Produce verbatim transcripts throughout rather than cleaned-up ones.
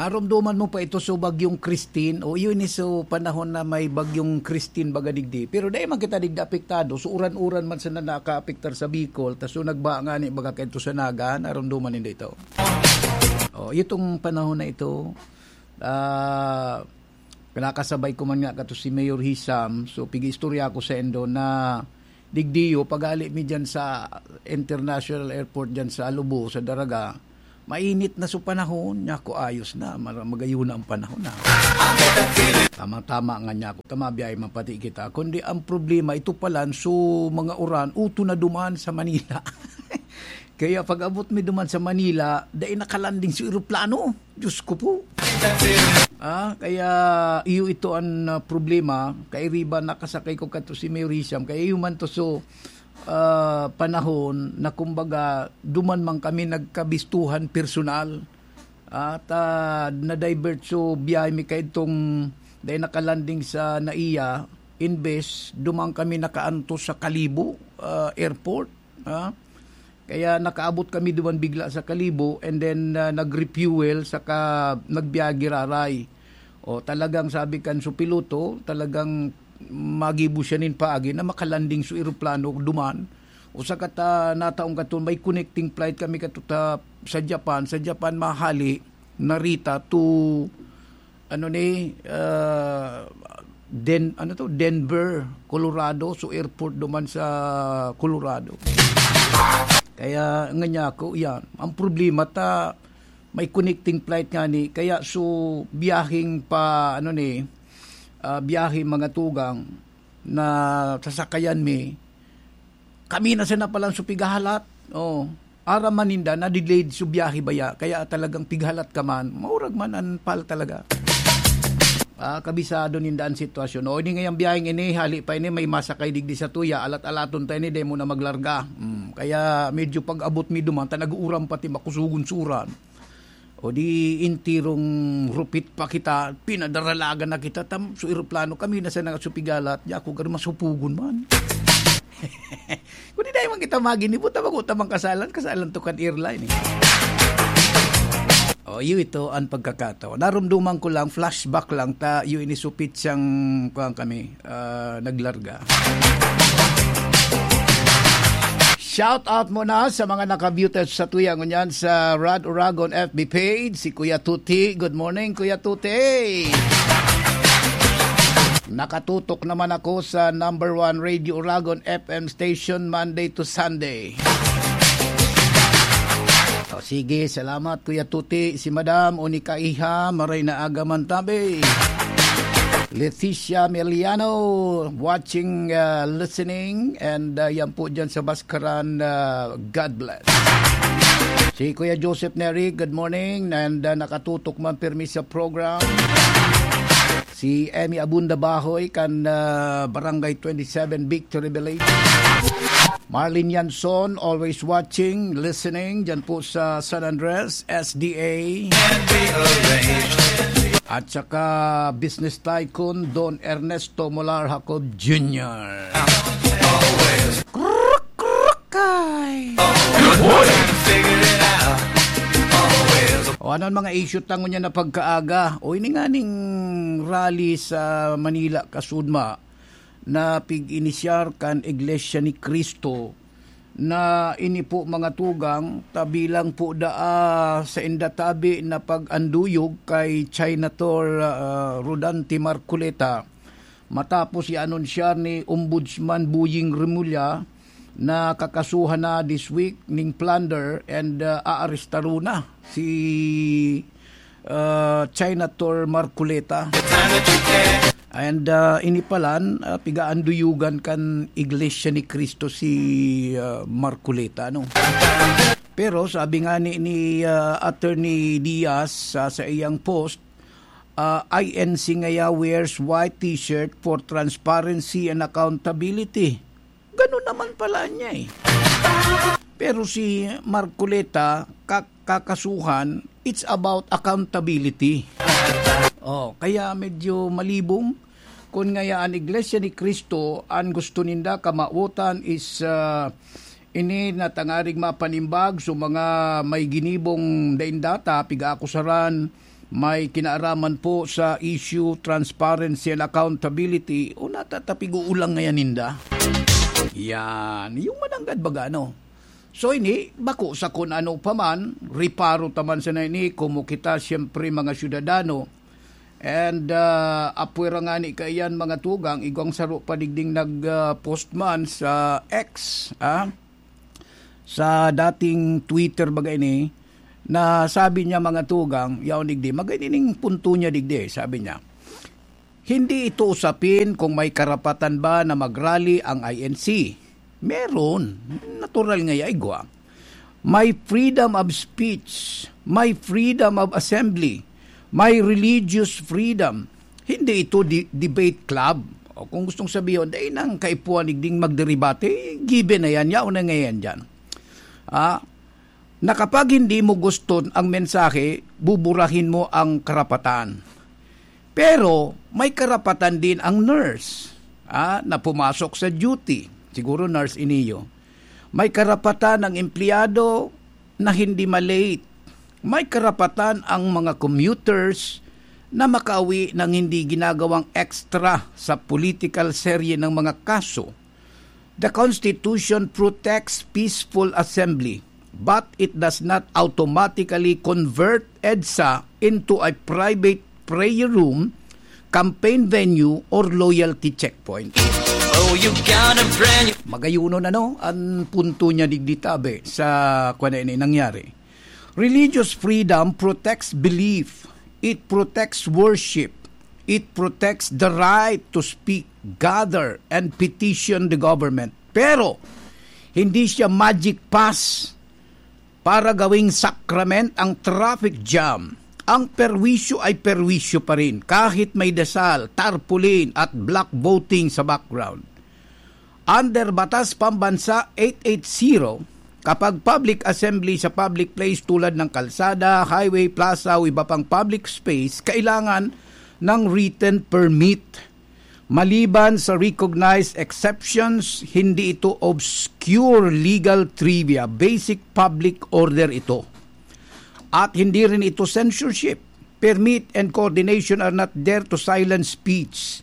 Aromdoman mo pa ito, so, Bagyong Christine. O, yun is, so, panahon na may Bagyong Christine baga digdi. Pero dai man kita digdi apektado. So, uran-uran man sana nakaapektar sa Bicol. Ta, so, nagba nga ni baga kaito sa Naga. Aromdoman ninda ito. O, itong panahon na ito, ah, nakasabay ko man nga kato si Mayor Hisam. So, pig-istorya ko sa endo na digdiyo, paghali mi dyan sa international airport dyan sa Lubo, sa Daraga, mainit na so panahon. Niya ko, ayos na, mar-, magayon na ang panahon na. Tama-tama nga niya ko, tama, biyahe man pati kita. Kundi ang problema, ito palan, so mga uran, uto na duman sa Manila. Kaya pag-abot mi duman sa Manila, dai nakalanding so eroplano. Diyos ko po. Ah, kaya iyo ito an, ah, problema. Kairiba nakasakay ko kato si Mayor Hisham. Kaya iyo man to so, ah, panahon na kumbaga duman man kami nagkabistuhan personal. At, ah, na-divert so biyahe mi kaidtong dai nakalanding sa NAIA, imbes duman kami nakaantos sa Kalibo, ah, airport. Ah, kaya nakaabot kami duman bigla sa Kalibo and then, ah, nag-refuel saka nagbiyahe giraray. O, talagang sabi kan su piloto, talagang magibo siya nin paagi na makalanding su eroplano duman. O saka ta nataong katon, may connecting flight kami kato ta, sa Japan. Sa Japan, mahali, Narita to, ano ni, ah, Den-, ano to? Denver, Colorado. So, airport duman sa Colorado. Kaya nga niya ako, yan. Ang problema ta, may connecting flight nga ni, kaya so, biyaheng pa, ano ni, ah, biyahe mga tugang na sasakayan mi, kami na sana palan so pighahalat. Oh, aram man ninda na delayed so biyahe baya, kaya talagang pighalat ka man, maurag man an pal talaga. Ah, kabisado ninda an sitwasyon. O, ini ngayang biyaheng ini, hali pa ini, may masakay digdi sa tuya, alat-alaton ta ini, dai mo na maglarga. Hmm, kaya medyo pag-abot mi duman, ta nag-uuran pati, makusugon sa uran. O di, intirong rupit pa kita, pinadaralagan na kita, tam-, so eroplano, kami na sa nangasupigalat, di ako garo masupugon man. Kundi dai man kita maginibo, ta bago ta man kasalan, kasalan to kan airline, eh. O, iyo ito an pagkakataon. Narumduman ko lang, flashback lang, ta iyo ini supit siyang, kuwan kami, ah, naglarga. Shout out muna sa mga naka-view test sa tuya ngunyan sa Rad Uragon F B page, si Kuya Tuti. Good morning, Kuya Tuti. Nakatutok naman ako sa number one Radio Uragon F M station Monday to Sunday. O, sige, salamat, Kuya Tuti. Si Madam, o ni Kaiha, maray na aga man tabi. Leticia Meliano, watching, uh, listening, and, uh, yan po dyan sa Baskaran, uh, God bless. Si Kuya Joseph Neri, good morning, and, uh, nakatutok man pirmi sa program. Si Emmy Abunda Bahoy kan, uh, Barangay twenty-seven Victory Village. Marlene Yanson, always watching, listening, dyan po sa San Andres, S D A. At saka business tycoon Don Ernesto Molar Jacob Junior. Krukay! O, ano ang mga issue tango niya na pagkaaga? O, ini nga ning rally sa Manila, kasudma, na pig-inisyar kan Iglesia ni Cristo, na ini po, mga tugang, ta bilang po daa sa indatabi na pag-anduyog kay Senator, ah, Rodante Marcoleta, matapos i-anunsyar ni Ombudsman Boying Remulla na kakasuhan na this week ning plunder and, ah, aarestaron na si, ah, Senator Marcoleta. And, ah, ini palan, ah, pigaanduyugan kan Iglesia ni Cristo si, ah, Marcoleta, no? Pero sabi nga ni, ni, ah, Attorney Diaz sa, sa iyang post, ah, "I N C ngaya wears white t-shirt for transparency and accountability." Ganun naman pala niya eh. Pero si Marcoleta, ka-, kakasuhan, it's about accountability. Oh, kaya medyo malibong. Kun ngaya an Iglesia ni Cristo, an gusto ninda kamawotan is, ah, ini na tangarig mapanimbag so mga may ginibong daindata, pigaakusaran, May kinaaraman po sa issue, transparency and accountability, o natatapig-uulang ngayon ninda? Yan, yung mananggad baga, no? So ini, bako sa kun ano pa man, reparo ta man sana ini, komo kita, siyempre, mga syudadano. And, ah, apwera nga ni kaiyan, mga tugang, igwang saro pa digding nag, ah, post man sa X, ah, sa dating Twitter baga ini, na sabi niya, mga tugang, yaon digdi, magay ning punto niya digdi, sabi niya, "Hindi ito usapin kung may karapatan ba na mag-rally ang I N C. Meron. Natural nga yaigwa. May freedom of speech, may freedom of assembly, may religious freedom. Hindi ito di-, debate club." O kung gustong sabihin, dai nang kaipuhan digding magderebate, given na yan, yaon na nga yan dyan. Ah, na kapag hindi mo gusto ang mensahe, buburahin mo ang karapatan. Pero may karapatan din ang nurse, ah, na pumasok sa duty. Siguro nurse iniyo. May karapatan ang empleyado na hindi ma-late. May karapatan ang mga commuters na makauwi ng hindi ginagawang extra sa political serye ng mga kaso. The Constitution protects peaceful assembly, but it does not automatically convert EDSA into a private prayer room, campaign venue, or loyalty checkpoint. Oh, you got a brand new Magayunon, ano, ang punto niya digdi tabi sa kwan na ini nangyari. Religious freedom protects belief. It protects worship. It protects the right to speak, gather, and petition the government. Pero, hindi siya magic pass para gawing sakrament ang traffic jam. Ang perwisyo ay perwisyo pa rin, kahit may dasal, tarpaulin, at block voting sa background. Under Batas Pambansa eight eight zero, kapag public assembly sa public place tulad ng kalsada, highway, plaza o iba pang public space, kailangan ng written permit. Maliban sa recognized exceptions, hindi ito obscure legal trivia. Basic public order ito. At hindi rin ito censorship. Permit and coordination are not there to silence speech.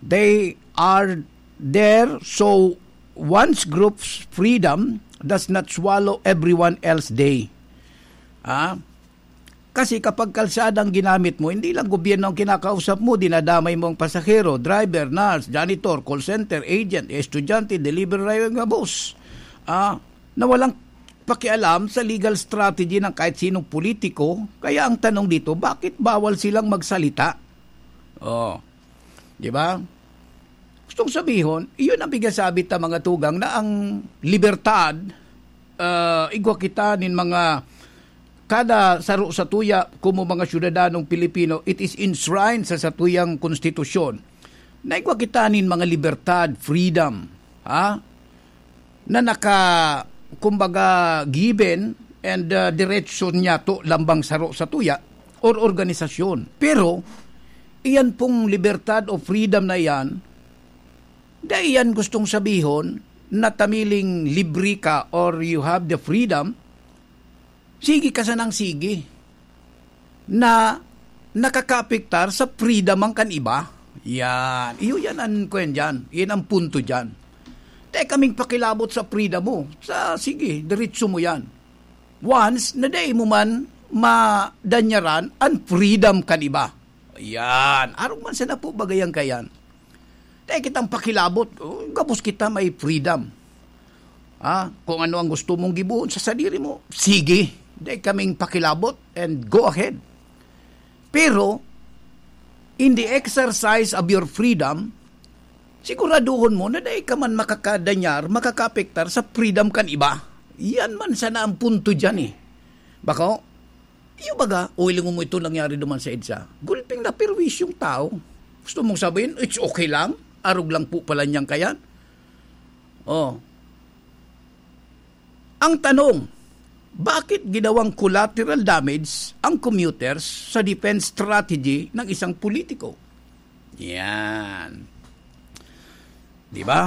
They are there so one's group's freedom does not swallow everyone else's day. Ah? Kasi kapag kalsada ang ginamit mo, hindi lang gobyerno ang kinakausap mo, dinadamay mo ang pasahero, driver, nurse, janitor, call center, agent, estudyante, delivery rider nga boss. Ah, na walang pakialam sa legal strategy ng kahit sinong politiko. Kaya ang tanong dito, bakit bawal silang magsalita? Oh, di ba? Gustong sabihon, iyon ang pigsasabi ta, mga tugang, na ang libertad, ah, igwa kita nin mga, kada saro satuya, komo mga syudadanong Pilipino, it is enshrined sa satuyang konstitusyon. Na igwa kita nin mga libertad, freedom, ha? Na naka, kumbaga, given and, ah, diretso niya to lambang saro satuya or organisasyon. Pero, iyan pong libertad o freedom na iyan, dai iyan gustong sabihon na tamiling libre ka or you have the freedom, sige ka sanang sige, na nakakaapektar sa freedom ang kan iba. Yan. Iyo yan an kwan dyan. Yan ang punto dyan. Dai kaming pakilabot sa freedom mo. Sa, sige, diretso mo yan. Once na dai mo man madanyaran an freedom kan iba. Yan. Arog man sana po bagay ang kayan. Dai kitang pakilabot. Oh, gabos kita may freedom. Ha? Kung ano ang gusto mong gibohon sa sadiri mo, sige. Dai kaming pakilabot and go ahead. Pero, in the exercise of your freedom, siguraduhon mo na dai ka man makakadanyar, makakaapektar sa freedom kan iba. Yan man sana ang punto dyan eh. Bako, iyo baga, o hilingon mo ito nangyari duman sa EDSA. Gulping na perwisyong tao. Gusto mong sabihin, it's okay lang? Arog lang po pala niyang kayan? Oh. Ang tanong, bakit ginawang collateral damage ang commuters sa defense strategy ng isang politiko? Yan. Di ba?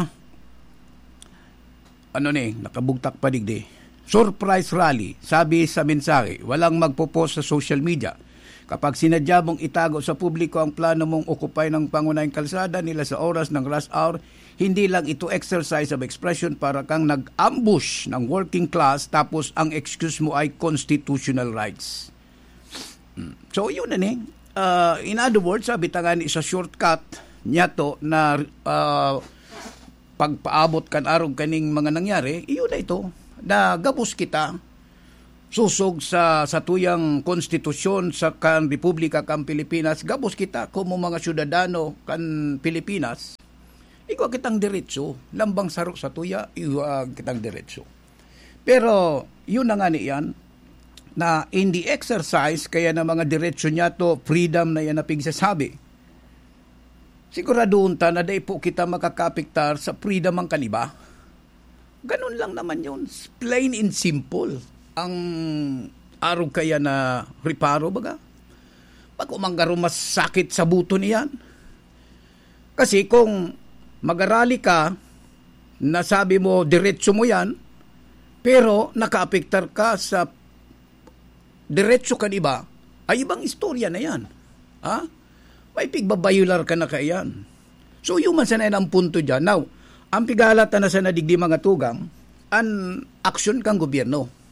Ano ni, nakabugtak pa digdi. Surprise rally, sabi sa mensahe, walang magpo-post sa social media. Kapag sinadya mong itago sa publiko ang plano mong okupay ng pangunahing kalsada nila sa oras ng rush hour, hindi lang ito exercise of expression, para kang nag-ambush ng working class, tapos ang excuse mo ay constitutional rights. Hmm. So, yun na ni. Ah, in other words, sabi ta nga ni sa shortcut niya to na, ah, pagpaabot kan arog kaning mga nangyari, iyo na ito, na gabos kita sosog sa satuyang konstitusyon sa kan Republika kan Pilipinas, gabos kita komo mga syudadano kan Pilipinas, igwa kitang diretso, lambang saro satuya, igwa kitang diretso. Pero, yun na nga ni yan, na in the exercise kaya na mga diretso niya to, freedom na yan na pigsasabi. Siguradohon ta na dai po kita makakaapektar sa freedom ang kaniba. Ganun lang naman yun. Plain and simple ang arog kaya na reparo, baga. Bako man garo masakit sa buto niyan. Kasi kung magarali ka, nasabi mo, diretso mo yan, pero nakaapektar ka sa diretso kan iba, ay ibang istorya na yan. Ha? May pigbabayular ka na kaiyan. So, yun man sana yan ang punto dyan. Now, ang pigalatan na sana digdi mga tugang, an aksyon kang gobyerno.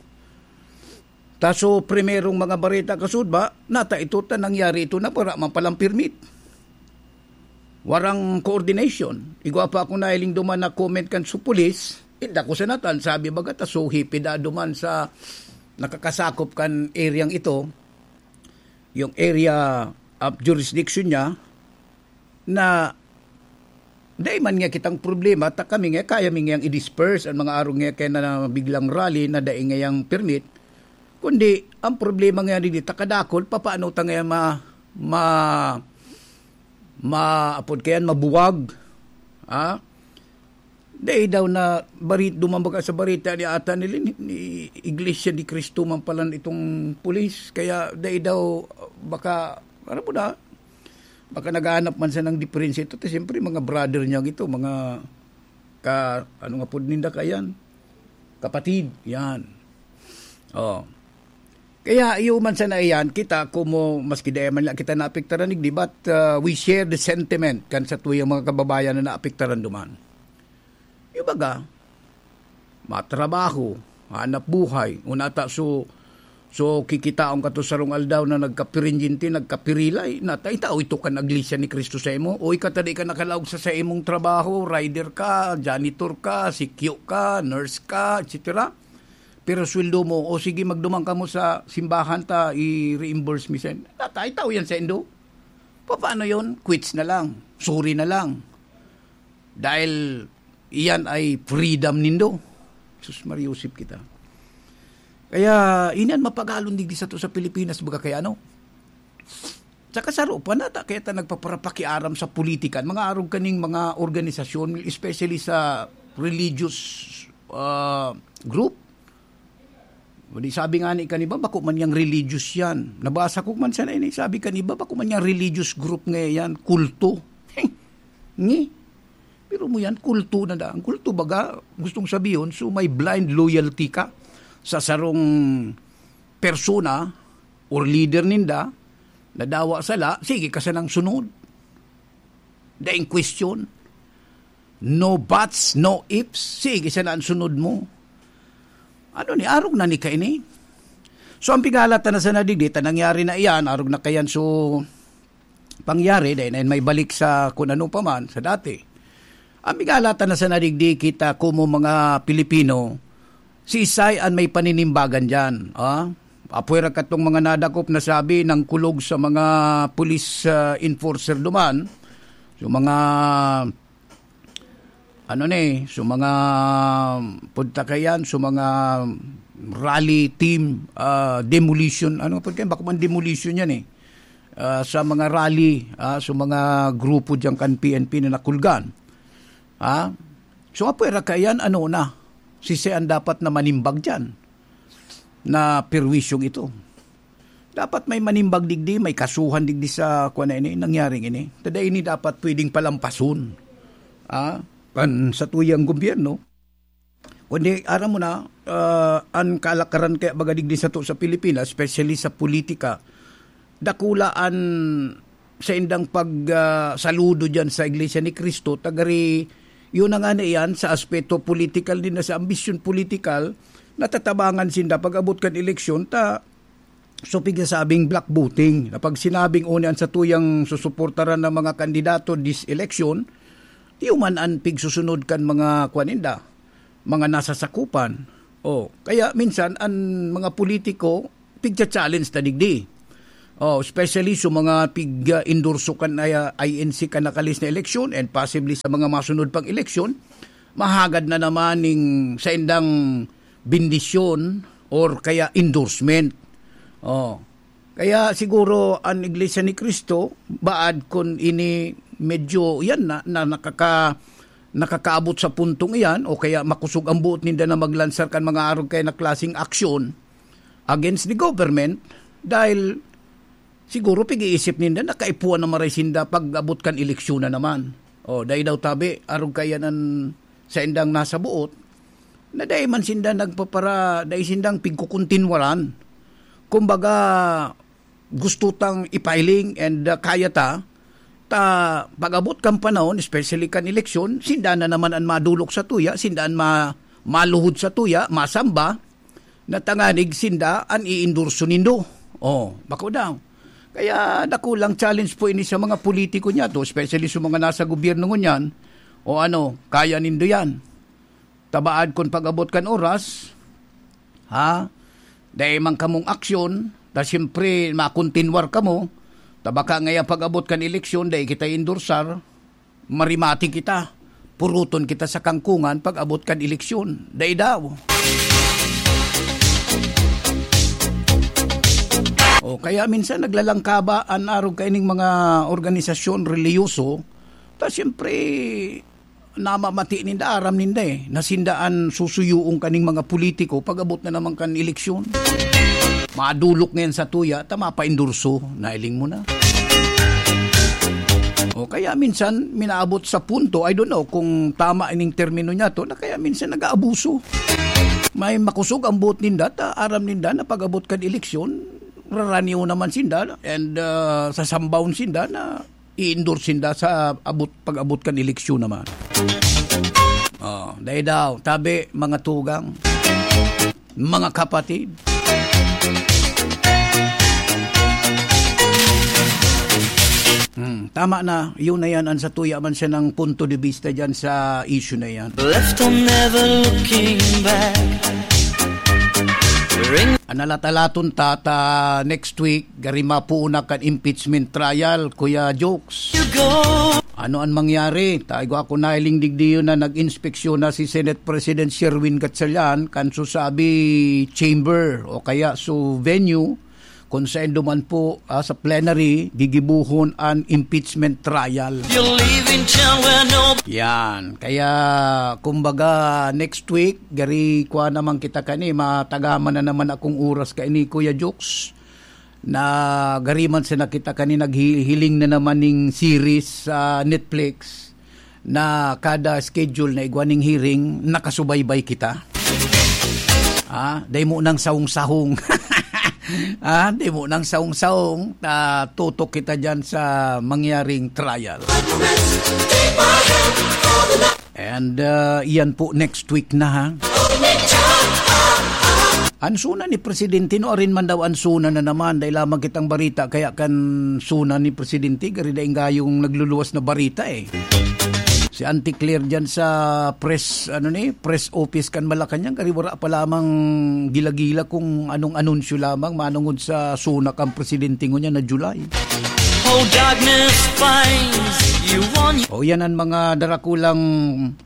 Ta so, primerong mga bareta kasud ba, nata ito ta nangyari ito na para man palang permit. Warang coordination. Igwa pa ako nahiling duman na comment kan su pulis, inda ko sa natan, sabi baga ta so hipid da duman sa nakakasakop kan areang ito, yung area of jurisdiction niya, na dai man nga kitang problema, ta kami nga kaya mi ngayang i-disperse ang mga arog nga kaya na biglang rally na dai ngayang permit, kundi ang problema nga digdi ta kadakol, papaano ta ngaya ma-, ma-, maapod kayan, mabuwag? Ha? Dai daw na bari-, duman baga sa barita ni ata nila ni, ni Iglesia ni Cristo man pala itong pulis, kaya dai daw baka, ano po na, baka naghahanap man siya ng diferensya ito. Siyempre, mga brother niya ito, mga ka-, ano nga po ninda kayan? Kapatid, yan. Oh. Kaya iyo man sana iyan, kita komo, maski dai man la kita naapektaran digdi, but, uh, we share the sentiment kan satuyang mga kababayan na naapektaran duman. Yung baga, matrabaho, hanap buhay, unata so, so kikitaon ka to sarong aldaw na nagkapirinjinti, nagkapirilay, nata itao ito kan Iglesia ni Cristo sa imo, o ikatadi ka nakalaog sa sa imong trabaho, rider ka, janitor ka, sikyo ka, nurse ka, et cetera. Pero sweldo mo, o sige, magduman ka mo sa simbahan ta, i-reimburse mi sa inyo. Nata itao yan sa indo. Paano yon? Quits na lang. Sorry na lang. Dahil iyan ay freedom nindo. Sus, mariusip kita. Kaya, inan mapagalon digdi sato sa Pilipinas, baga kaya ano. Saka saro pa nata, kaya ta nagpaparapakiaram sa politikan, mga arog kaning mga organisasyon, especially sa religious, ah, group. Di sabi nga ni kaniba, bako man yang religious yan. Nabasa ko man sana ini, sabi kaniba, bako man yang religious group nga yan, kulto. Ngi? Pero mo yan, kulto na da. Ang kulto baga, gustong sabihon, so may blind loyalty ka sa sarong persona or leader ninda, nadawa sala, sige ka sanang sunod. Daing question. No buts, no ifs. Sige sana ang sunod mo. Ano ni, arog na ni kaini? So, ang pigalatan na sana digdi, ta nangyari na iyan, arog na kayan, so, pangyari, dahil na yun may balik sa kung ano pa man, sa dati. Ang pigalatan na sana digdi, kita komo mga Pilipino, si Isay an may paninimbagan diyan, ah. Apwera katong mga nadakop na sabi ng kulog sa mga police, ah, enforcer duman, yung mga, ano ni, so mga punta kayan, so mga rally team, ah, demolition, ano pud kayan, bako man demolition yan eh. Ah, sa mga rally, ah, sa mga grupo diyan kan P N P na nakulgan. Ah, so apwera kayan, ano na, si Isay an dapat na manimbag diyan na perwisyong ito. Dapat may manimbag digdi, may kasuhan digdi sa kuwan na ini, nangyaring ini. Tada ini dapat pwedeng palampason, ah, kan satuyang gobyerno. Kundi, aram mo na, ah, an kalakaran kaya baga digdi sato sa Pilipinas, especially sa politika, dakula an saindang pag, ah, saludo diyan sa Iglesia ni Cristo, ta gari, yun na nga na iyan, sa aspeto politikal din na sa ambisyon politikal, natatabangan sinda pag-abot kan eleksyon, ta, so, pigsasabing black voting. Na pag sinabing uni an satuyang susuportaran ng mga kandidato this election, di man an pigsusunod kan mga, kuwan ninda, mga nasasakupan. O, kaya minsan, an mga politiko, pigcha-challenge ta digdi. O, especially sa mga pig-, ah, endorso kan, ah, I N C kan nakalis na eleksyon and possibly sa mga masunod pang eleksyon, mahagad na naman ning saindang bendisyon or kaya endorsement. O, kaya siguro an Iglesia ni Cristo, baad kun ini medyo, yan na, na nakaka-, nakakaabot sa puntong iyan, o kaya makosog ang boot ninda na maglansar kan mga arog kaya na klaseng aksyon against the government, dahil siguro pig-iisip ninda na kaipuhan na maray sinda pag-abot kan eleksyon na naman. O, dai daw tabi, arog kaya nan saindang nasa boot, na dai man sinda nagpapara-, dai sindang pigkukuntinwaran. Kumbaga, gusto tang ipahiling and, uh, kaya ta, ta pag-abot kan panahon, especially kan eleksyon, sinda na naman an madolok sa tuya, sinda an ma-, maluhod sa tuya, masamba, na tanganig sinda an iendorso nindo. O, bako daw. Kaya dakulang challenge po ini sa mga politiko niya to, especially sa mga nasa gobyerno ngunyan. O ano, kaya nindo yan. Tabaad kun pag-abot kan oras, ha? Dai man kamong aksyon, ta siyempre makontinwar kamo, ta baka ngaya pag-abot kan eleksyon, dai kita endorsar, marimati kita, puruton kita sa kangkungan pag-abot kan eleksyon. Dai daw. O, kaya minsan naglalangkaba an arog kaining mga organisasyon relihiyoso, ta siyempre, namamati ninda, aram ninda eh, na sinda an susuyoon kaning mga politiko pag-abot na naman kan eleksyon. Madolok ngayon sa tuya, ta mapaendorso, nailing mo na. O kaya minsan, minaabot sa punto, I don't know kung tama ining termino niya to, na kaya minsan nag-aabuso. May makosog ang boot ninda, ta aram ninda na pag-abot kan eleksyon, raraniw naman sinda, and, ah, sasambawon sinda na i-endorse sinda sa abot, pag-abot kan eleksyon naman. Oh, dai daw, tabi, mga tugang, mga kapatid. Hmm, tama na, yun na yan, ang satuya man siya ng punto de vista dyan sa issue na yan. Left on never looking back. Ring An nalatalaton ta, ta next week, gari mapuon na kan impeachment trial, Kuya Jokes. You go. Ano an mangyari? Ta igwa ko nahiling digdiyon na nag-inspeksyon na si Senate President Sherwin Gatchalian kan susabi chamber o kaya su venue kung saen duman po, ah, sa plenary, gigibuhon an impeachment trial. You're leaving town where no Yan. Kaya, kumbaga, next week, gari kwa naman kita kani, matagaman na naman akong oras kaini, Kuya Jokes, na gari man sana kita kani naghihiling na naman ning series sa Netflix na kada schedule na igwa ning hearing, nakasubaybay kita. Ah, dai mo nang sahong-sahong. Ah, dai mo nang sahong-sahong, ah, tutok kita dyan sa mangyaring trial. And, ah, iyan po next week na, ha? An suna ni Presidente, no, arin man daw an suna na naman, dai lamang kitang barita, kaya kan suna ni Presidente, gari daing gayong nagluluwas na barita, eh. Si Auntie Claire dyan sa press, ano ni, press office kan Malacañang, gari wara pa lamang gila-gila kung anong anunsyo lamang manungod sa suna kan Presidente ngunyan na July. Oh, darkness finds you on O, yan ang mga darakulang,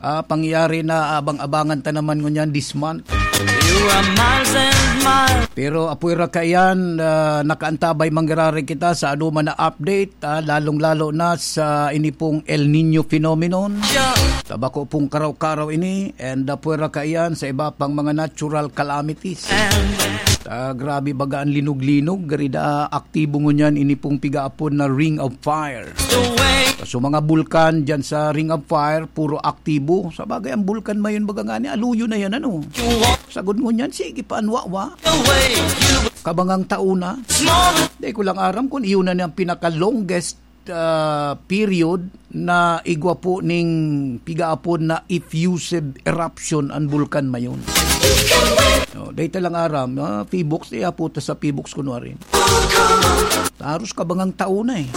ah, pangyayari na abang-abangan ta naman ngunyan this month. You are miles and miles. Pero apwera kaiyan, ah, nakaantabay mangyayari kita sa anuman na update, ah, lalong-lalo na sa ini pong El Niño phenomenon. Sure. Tabako pong karaw-karaw ini, and apwera kaiyan sa iba pang mga natural calamities. And Ah, grabe baga an linog-linog, gari da aktibo ngunyan ini pong pigaapod na Ring of Fire. The way So, mga bulkan dyan sa Ring of Fire, puro aktibo. Sa bagay, ang bulkan mayon baga nga ni, aluyo na yan, ano? You walk Sagod ngunyan, sige pa, an wawa. The way you Kabangang taon na. Di ko lang aram kung iyon na ang pinaka-longest, ah, period na igwa po ning pigaapod na effusive eruption ang bulkan mayon. Oh, dahil lang aram, ah, Phoenix, di apo ta sa Phoenix kunwari. Taros kabangang taon na eh.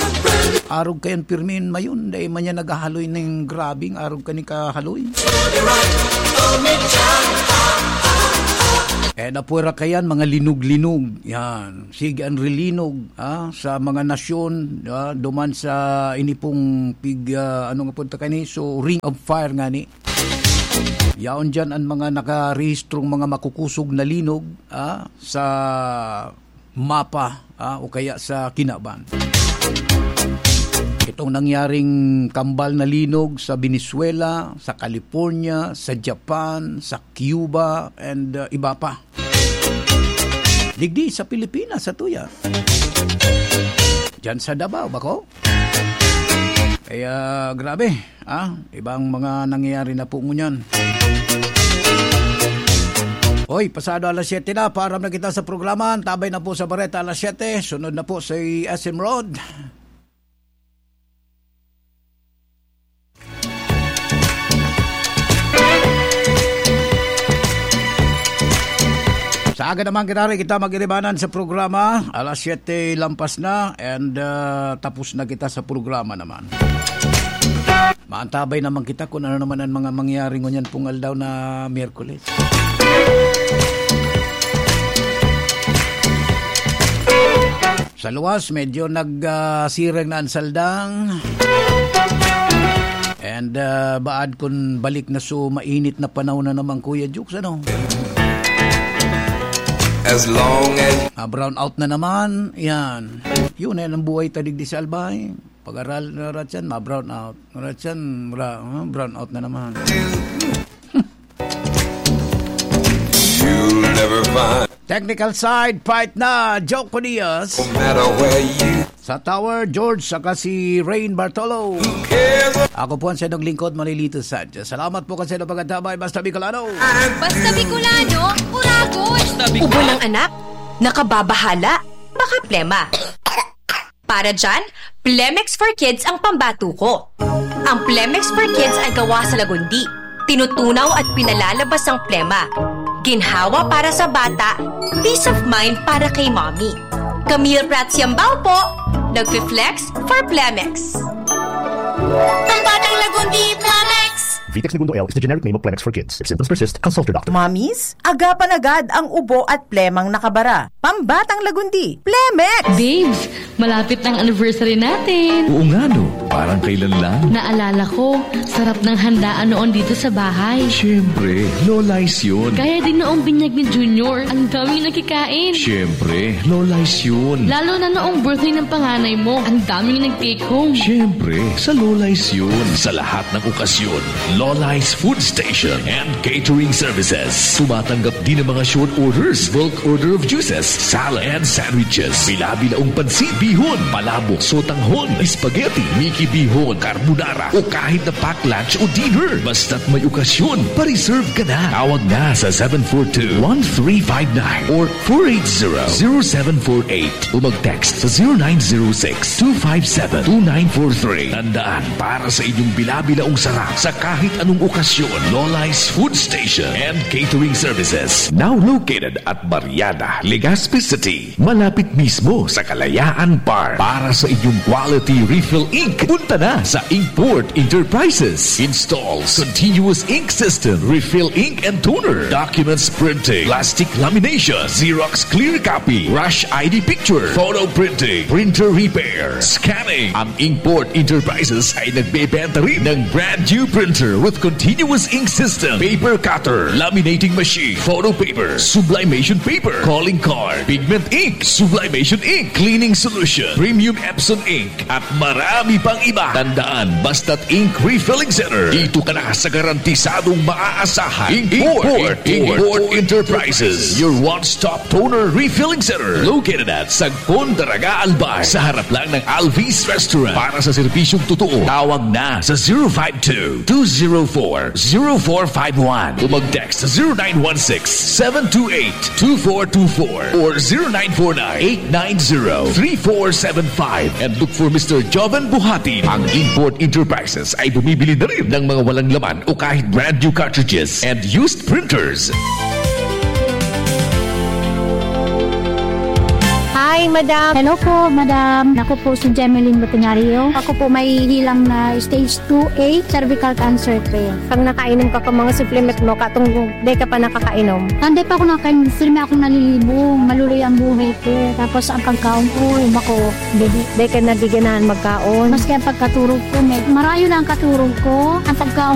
Arog kayan pirmin mayon, dahil man yan naghahaloy ning grabing arog kani kahaloy. Eh, napwera kayan, mga linog-linog. Yan. Sige, ang rilinog, ah, sa mga nasyon, ah, duman sa inipong pig, ah, ano nga punta kani? So, Ring of Fire nga ni. Yaon dyan ang mga nakarehistrong mga makukusog na linog, ah, sa mapa, ah, o kaya sa kinaban. Itong nangyaring kambal na linog sa Venezuela, sa California, sa Japan, sa Cuba, and, ah, iba pa. Digdi sa Pilipinas, sa tuya. Diyan sa Davao, bako? Kaya, grabe, ah, ibang mga nangyayari na po ngunyan. Hoy, pasado alas siyete na, paaram na kita sa programa. Antabay na po sa Bareta alas siyete. Sunod na po si S M Rod. Sa aga naman, kinari, kita mag-iribanan sa programa. Alas siyete lampas na and, ah, tapos na kita sa programa naman. Maantabay naman kita kung ano naman ang mga mangyayari ngunyan pong aldaw na Miyerkules. Sa luwas, medyo nag, ah, sirang na ang saldang. And, ah, baad kun balik na so mainit na panahon na naman, Kuya Jukes, ano? As long as Ah, brown out na naman. Yan. Yun, yan ang buhay ta digdi sa Albay. Pag-aral na ratyan, ma-brown out. Ratyan, ra-, ah, brown out na naman. You'll never find Technical side, fight na, Joko Diaz. No matter where you Sa Tower, George, saka si Rain Bartolo. Ako po ang siyadong lingkod, Manilito Sanchez. Salamat po kasi ng pagkatabay, Basta Bicolano. Basta Bicolano, Uragon! Ubo ng anak? Nakababahala? Baka plema. Para dyan, Plemex for Kids ang pambato ko. Ang Plemex for Kids ay gawa sa lagundi. Tinutunaw at pinalalabas ang plema. Ginhawa para sa bata, peace of mind para kay mommy. Camille Prats Yambao po, nagfi-flex for Plemex. Pambatang lagundi, Plemex! Vitex Negundo L is the generic name of Plemex for Kids. If symptoms persist, consult your doctor. Mommies, agapan agad ang ubo at plemang nakabara. Pambatang lagundi, Plemex! Babes, malapit na ang anniversary natin. Oo nga, no? Parang kailan lang. Naalala ko, sarap ng handaan noon dito sa bahay. Siyempre, Lola's yun. Kaya din noong binyag ni Junior, ang daming nakikain. Siyempre, Lola's yun. Lalo na noong birthday ng panganay mo, ang daming nag-take home. Siyempre, sa Lola's yun. Sa lahat ng okasyon, Lola's Food Station and Catering Services. Tumatanggap din ng mga short orders, bulk order of juices, salad, and sandwiches. Bila-bilaong pansit, bihon, palabok, sotanghon, spaghetti, miki bihon, carbonara, o kahit na pack lunch o dinner. Basta't may okasyon, pa-reserve ka na. Tawag na sa seven four two, one three five nine or four eight zero, zero seven four eight o mag-text sa zero nine zero six, two five seven, two nine four three. Tandaan, para sa inyong bila-bilaong sarap sa kahit anong okasyon, Lola's Food Station and Catering Services. Now located at Barriada, Legazpi City, malapit mismo sa Kalayaan Park. Para sa inyong quality refill ink, punta na sa Inkport Enterprises. Installs continuous ink system, refill ink and toner, documents printing, plastic lamination, Xerox clear copy, rush I D picture, photo printing, printer repair, scanning. Ang Inkport Enterprises ay nagbebenta rin ng brand new printer with continuous ink system, paper cutter, laminating machine, photo paper, sublimation paper, calling card, pigment ink, sublimation ink, cleaning solution, premium Epson ink, at marami pang iba. Tandaan, basta't Ink Refilling Center, dito ka na sa garantisadong maaasahan. Import, Import, Import Enterprises, your one-stop toner refilling center. Located at Sagpon, Daraga, Albay, sa harap lang ng Alvis Restaurant. Para sa serbisyong totoo, tawag na sa zero five two, two zero four, zero four five one. O mag-text sa zero nine one six, seven two eight, two four two four or zero nine four nine, eight nine zero, three four seven five. And look for Mister Joven Buhatin. Ang Import Enterprises ay bumibili na rin ng mga walang laman o kahit brand new cartridges and used printers. Hi, madam. Hello po, madam. Ako po si Jemeline Botenario. Ako po may hilang na stage two A cervical cancer po. Pag nakainom ka pa mga supplement mo, katong di ka pa nakakainom. Hindi pa ako nakain, firme akong nalilibong. Maluloy ang buhay ko. Tapos ang pagkaon ko, bako, bebe. Di ka nabiganahan magkaon. Maski ang pagkaturog ko, may marayo na ang katurog ko. Ang pagkaon